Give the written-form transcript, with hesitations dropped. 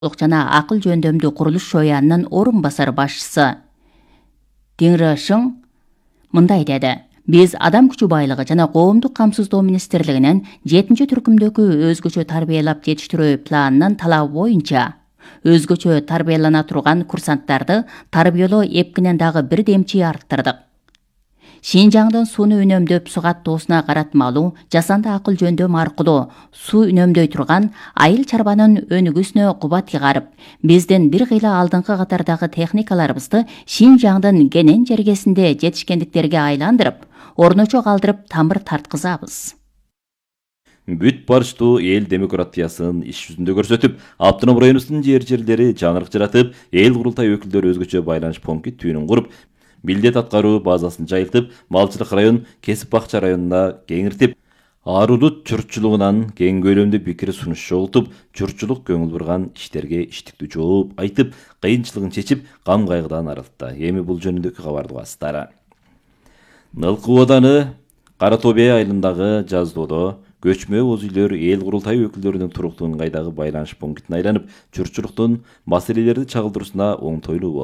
жана акыл жөндөмдүү курулуш шоянынын орун басар башчысы Диңри Шың мындай деди. Биз адам күчү байлыгы жана коомдук камсыздоо министрлигинин 7-түркүмдөгү өзгөчө тарбиялап жетиштирүү планынын талабы боюнча өзгөчө тарбиялана турган курсанттарды тарбиялоо эпкинен дагы бир демчи арттырдык. Шинжаңдын сууну үнөмдөп суу каттоосуна каратмалуу жасанды акыл жөндөм аркылуу суу үнөмдөй турган айыл чарбанын өнүгүүсүнө кубат чыгарып, биздин бир кыйла алдыңкы катардагы техникаларыбызды Шинжаңдын кенен жергесинде жетишкендиктерге айландырып, орночо калтырып тамыр тарткызабыз. Бүт барыштуу эл демократиясын иш жүзүндө көрсөтүп, автоном районубуздун жерлери жаңырык жаратып, эл курултай өкүлдөрү өзгөчө байланыш пункти түйүнүн куруп, милдет аткаруу базасын жайылтып, малчылык район, кесип бакча районуна кеңиртип, арудут журтчулугунан кең көлөмдүү пикир сунуш жогултуп, журтчулук көңүл бурган иштерге иштиктүү жооп айтып, кыйынчылыгын чечип, кам кайгыдан арылтты. Эми бул жөнүндөгү кабарды угасыздар. Нылкы ооданы Кара Тобе айылындагы жаздоодо көчмө боз үйлөр эл курултай өкүлдөрүнүн туруктуу ыңгайдагы байланыш пунктине айланып, журтчулуктун маселелерди чагылдыруусуна оңтойлуу болду.